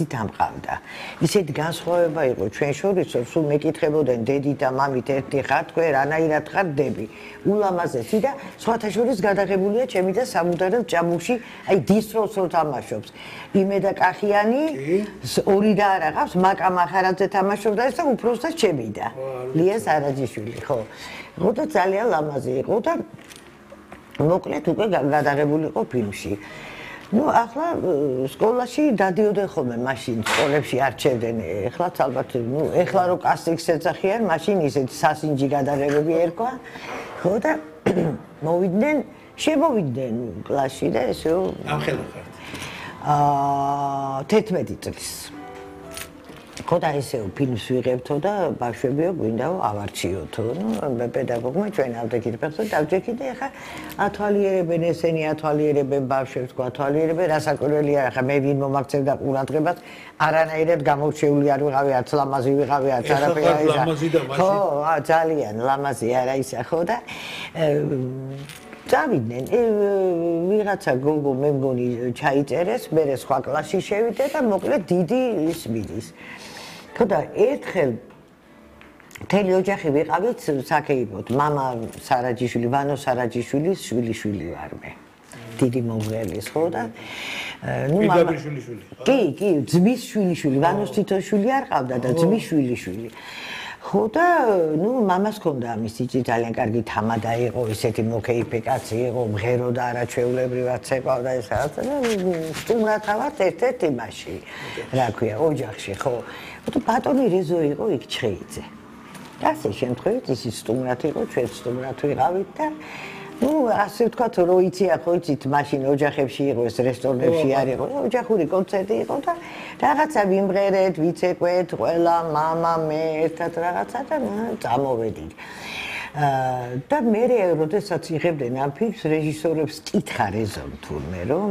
დამყავდა. ისეთი განსხვავება იყო ჩვენ შორის, რომ სულ მეკითხებოდნენ დედი და მამით ერთი ხარ თქვენ, რანაირად ხარ დები. ულამაზესი და სხვათა შორის გადაღებულია ჩემი და სამუდაროდ ჭაბუკში, აი დისტროს რო თამაშობს. იმედა კახიანი, ორი და არ აღავს, მაკა მახარაძე თამაშობდა და უფროსთა ჩემი და. ლია სარაჯიშვილი, ხო. ხო და ძალიან ლამაზი იყო და მოკლედ უკვე გადაღებული იყო ფილმში. Ну, ახლა სკოლაში დადიოდნენ ხოლმე მაშინ სკოლებში არჩევდნენ. ეხლა ალბათ, ну, ეხლა რო კასტინგს ეძახიან, მაშინ ისეთი სასინჯი გადაღებები ერქვა. ხო და მოვიდნენ, შემოვიდნენ კლასში და ესე ამ ხელა ხართ. 11 წლის. ხო და ესე ფილმს ვიღებთო და ბავშვებიო გვინდაო ავარჩიოთო. ნუ პედაგოგმა ჩვენ ავდექით ფეხს და დავჯექით და ეხა ათვალიერებენ ესენი ათვალიერებენ ბავშვებს გვათვალიერებენ რასაკვირველია ახლა მე ვინ მომაქცევდა ყურადღებას არანაირად გამორჩეული არ ვიყავი არც ლამაზი ვიყავი არც არაფერი არა ხო ძალიან ლამაზი არა ისა ხო და წავიდნენ ვიღაცა გოგო მე მგონი ჩაიწერეს მე სხვა კლასში შევიდე და მოკლედ დიდი ის მიდის ხო და ერთხელ მთელი ოჯახი ვიყავით საქეიფოთ მამა სარაჯიშვილი ვანო სარაჯიშვილის შვილიშვილი ვარ მე დიდი მომღერლის ხო და ნუ მამა კი ძმის შვილიშვილი ვანოს თითოშვილი არ ყავდა და ძმის შვილიშვილი ხო და ნუ მამას ჰქონდა ამის ჭი ძალიან კარგი თამადა იყო ისეთი მოკეიფე კაცი იყო მღერო და არაჩვეულებრივად ცეკვავდა ეს რაღაცა და სტუმრათავად ერთ-ერთ იმაში რა ქვია ოჯახში ხო და ბატონი რეზო იყო იქ ჩხეიძე და ასე შემთხვევით ისი სტუმრად იყო ჩვენ სტუმრად ვიყავით და ნუ ასე ვთქვათ რო იცია ხო იცით მაშინ ოჯახებში იყო ეს რესტორნებში არ იყო ოჯახური კონცერტი იყო და რაღაცა ვიმღერეთ ვიცეკვეთ ყველა მამა მე ერთად რაღაცა და წამოვედით და მე როდესაც იღებდნენ ამ ფილმს რეჟისორებს კითხა რეზომ თურმე რომ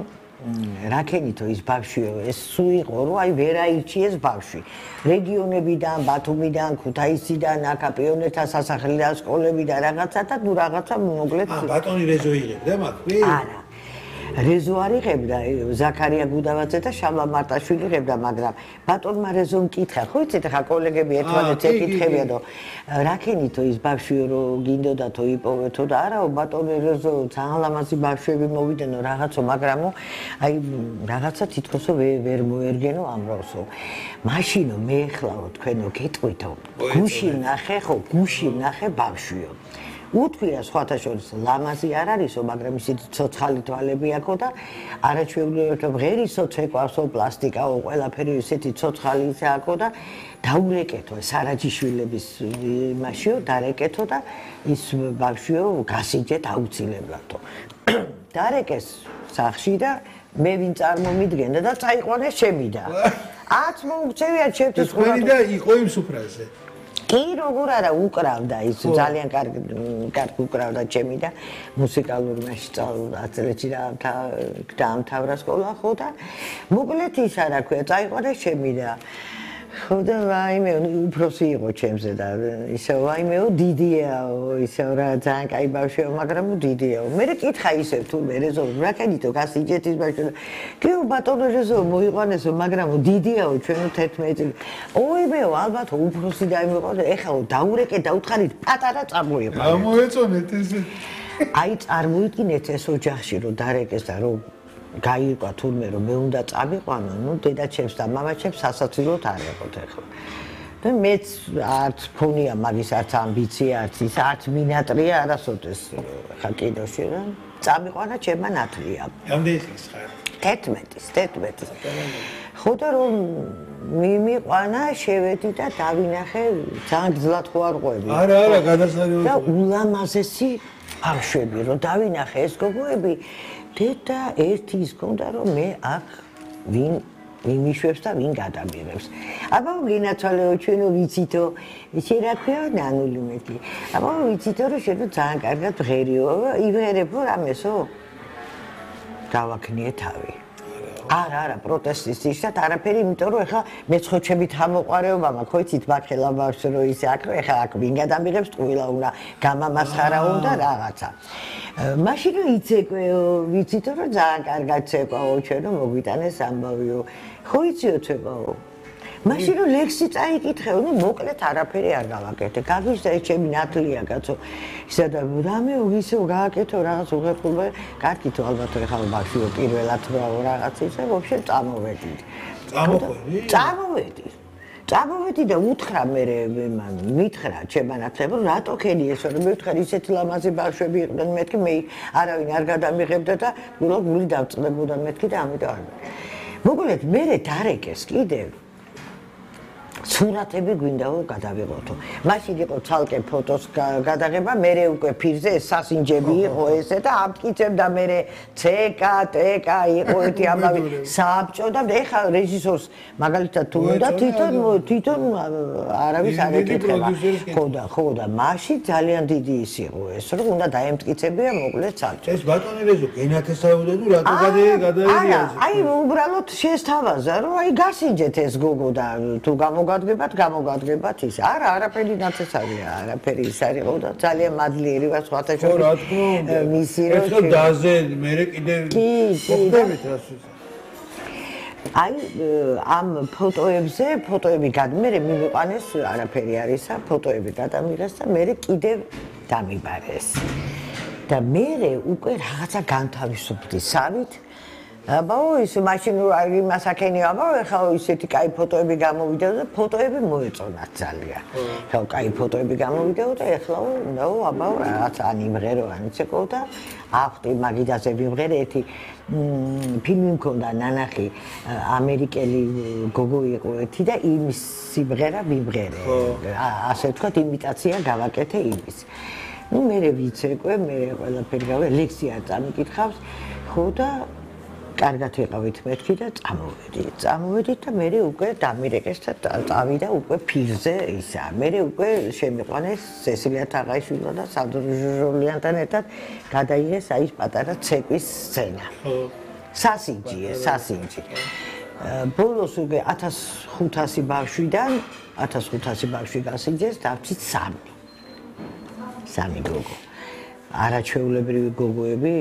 რაკენითო ის ბავშვიო ეს სუ იყო რომ აი ვერ აირჩიეს ბავშვი რეგიონებიდან ბათუმიდან ქუთაისიდან აკაპიონეთა სასახლიდან სკოლებიდან რაღაცა და ნუ რაღაცა მოკლედ ბატონი რეზო იღებდა მაგ არა რეზო არ იღებდა ზაქარია გუდავაძე და შალვა მარტაშვილი იღებდა მაგრამ ბატონმა რეზომ კითხა ხო იცით ახლა კოლეგები ერთმანეთს ეკითხებიან რომ რაკენითო ის ბავშვიო რომ გინდოდათო იპოვეთო და არაო ბატონი რეზო ძალიან ლამაზი ბავშვები მოვიდენო რაღაცო მაგრამო აი რაღაცა თითქოსო ვერ მოერგენო ამროსო მაშინო მე ეხლაო თქვენო გეტყვითო გუში ნახე ხო გუში ნახე ბავშვიო უთქვია სხვათა შორის ლამაზი არ არისო, მაგრამ ისეთი ცოცხალი თვალები აქო და არაჩვეულებრივად ღერისო ცეკვავსო, პლასტიკაო, ყველაფერი ისეთი ცოცხალი ისე აქო და დაურეკეთო სარაჯიშვილების იმაშიო, დარეკეთო და ის ბავშვიო გასიჯეთ აუცილებლადო. დარეკეს სახში და მე ვინ წარმომიდგენდა და წაიყვანეს ჩემი და. ათ მოუქცევია ჩემთვის ყველი და იყო იმ სუფრაზე. კი როგორ არა უკრავდა ის ძალიან კარგი უკრავდა ჩემი და მუსიკალურ მასში სწავლობდა 10 წელიწადში დაამთავრა სკოლა ხო და მოკლედ ის არა ქვია წაიყვანეს ჩემი და ხო და ვაიმე უფროსი იყო ჩემზე და ისე ვაიმეო დიდიაო ისე რა ძალიან კაი ბავშვია მაგრამ დიდიაო მე კითხა ისე თუ მე რეზო რაკენითო გასიჯეთ ის ბავშვი კიო ბატონო რეზო მოიყვანესო მაგრამ დიდიაო ჩვენო 11 წელი ოიმეო ალბათ უფროსი დაიმეყო და ეხლა დაურეკე დაუთხარით პატარა წამოიყვანე ამოეწონეთ ესე აი წარმოიდგინეთ ეს ოჯახში რომ დარეკეს და რომ გაირკვა თურმე რომ მე უნდა წამიყვანო, ნუ დედაჩემს და მამაჩემს სასაცილოდ არ ეყოთ ახლა. და მეც არც ფონია მაგის არც ამბიცია არც ის არც მინატრია არასოდეს ხა კინოში რა. წამიყვანა ჩემმა ნათლია. რამდენი წლის ხარ? 11. ხო და რომ მიმიყვანა შევედი და დავინახე ძალიან გძლად ხო არ ყვები. არა, გადასარევი. და ულამაზესი ბავშვები რომ დავინახე ეს გოგოები და ერთი ის გონდა რომ მე აქ ვინ მიშვებს და ვინ გადამიღებს. აბა გინაცვალეო ჩვენო ვიცითო ისე რა ქვია ნანული მეტი. აბა ვიცითო რომ შენ ძალიან კარგად ღერიო ივერებო რამესო დავაქნიე თავი. არა პროტესტის ისეთ არაფერი იმიტომ რომ ეხლა მეცხოჩებით ამოყარეობა მაქვს ხო იცით ბაქელა ბავშვს რო ისე აქ ეხლა აქ ვინ გადამიღებს ტყუილა უნდა გამამასხარა უნდა რაღაცა მაშინ იცეკვეო ვიცით რომ ძალიან კარგად ცეკვაო ჩვენო მოგვიტანეს ამბავიო ხო იციოთ მაშინ რომ ლექსი წაიკითხე, ნუ მოკლედ არაფერი არ გავაკეთე. გაგვიზდა ეს ჩემი ნათლია კაცო. ისა და რამე ისე გააკეთო რაღაც უღერხულობა. კარგით ალბათ ხალ ბავშვიო პირველად რაღაც ისე ვაფშე წამოვედი. წამოვედი და უთხრა მე მითხრა ჩემმა ნათლებმა რატო ხელი ესო რომ მითხრა ისეთი ლამაზი ბავშვები იყვნენ მეთქი მე არავინ არ გადამიღებდა და გული დავწყდებოდა მეთქი და ამიტომ არ მოკლედ მე დარეკეს კიდევ სურათები გვინდა რომ გადავიღოთო. მაშინ იყო ცალკე ფოტოს გადაღება, მე უკვე ფირზე სასინჯები იყო ესე და ამტკიცებდა მე CK, TK იყო ერთი ამავე საბჭო და ეხა რეჟისორს მაგალითად თუ უნდა თვითონ არავის არ ეკითხება. ხო და მაშინ ძალიან დიდი ის იყო ეს რომ უნდა დაემტკიცებია მოკლედ საბჭო. ეს ბატონი რეზო ენათესავდა თუ რატო გადაიდია? აი უბრალოდ შესთავაზა რომ აი გასინჯეთ ეს გოგო და თუ გამოგადგებათ ის. არა, არაფერი ნათესავია, არაფერი ის არის ხო და ძალიან მადლიერი ვარ სხვათა შორის. მისი რო ეს დაზე მე კიდე მოხდებით რას აი ამ ფოტოები გადმერე მიმიყვანეს არაფერი არისა, ფოტოები გადამიღეს და მე კიდევ დამიბარეს. და მე უკვე რაღაცა განთავისუფლდი სავით აბაო ის მაშინ იმას აქენია აბაო ეხლა ისეთი კაი ფოტოები გამოვიდა და ფოტოები მოეწონათ ძალიან. ხო, კაი ფოტოები გამოვიდა და ეხლა აბაო რაღაც ან იმღერო ან იცეო და ახტი მაგიდაზე ვიმღერე ერთი ფილმი მქონდა ნანახი ამერიკელი გოგო იყო ერთი და იმის სიმღერა ვიმღერე. ასე ვთქვათ იმიტაცია გავაკეთე იმის. ნუ მე ვიცეკვე მე ყველაფერი გავე ლექსია წამიკითხავს ხო და კარგად ვიყავით მეთქი და წამოვედით და მე უკვე დამირეკეს და წავიდა უკვე ფირზე ისა. მე უკვე შემიყვანეს სესილია თაღაიშვილმა და სანდრო ჟურლიანთან ერთად გადაიღეს აი პატარა ცეკვის სცენა. სასინჯი. ბოლოს უკვე 1500 ბავშვიდან 1500 ბავშვი გასინჯეს და ვთქვით 3 გოგო. არაჩვეულებრივი გოგოები,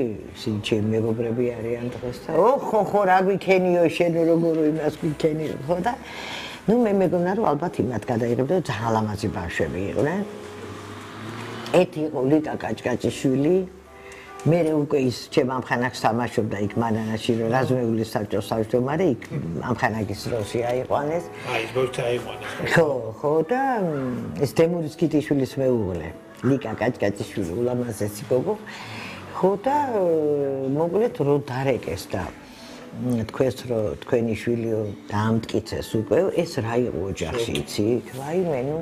ჩემი მეგობრები არიან დღეს და ხო რა გვიქენიო შენ როგორ იმას გვიქენიო ხო და ნუ მე მეგონა რომ ალბათ იმათ გადაიღებდა ძალიან ლამაზი ბავშვები იყვნენ. ერთი იყო ლიკა კაჭკაჭიშვილი, მე უკვე ის ჩემ ამხანაგს თამაშობდა იქ მანანაში რომ რაზმეულის საბჭოს თავმჯდომარე იქ ამხანაგის როლში აიყვანეს. აი ეს ბავშვი აიყვანეს. ხო და ეს დემურის კიტიშვილის მეუღლე ლიკა კაჭკაჭიშვილი ულამაზესი გოგო ხო და მოკლედ რო დარეკეს და თქვენს რო თქვენი შვილიო დაამტკიცეს უკვე ეს რა იყო ოჯახში იცი ვაიმე ნუ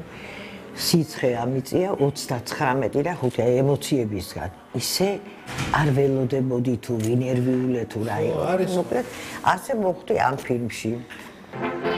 სიცხე ამიწია 39 და 5 ემოციებისგან ისე არ ველოდებოდი თუ ვინერვიულე თუ რა იყო მოკლედ ასე მოხდი ამ ფილმში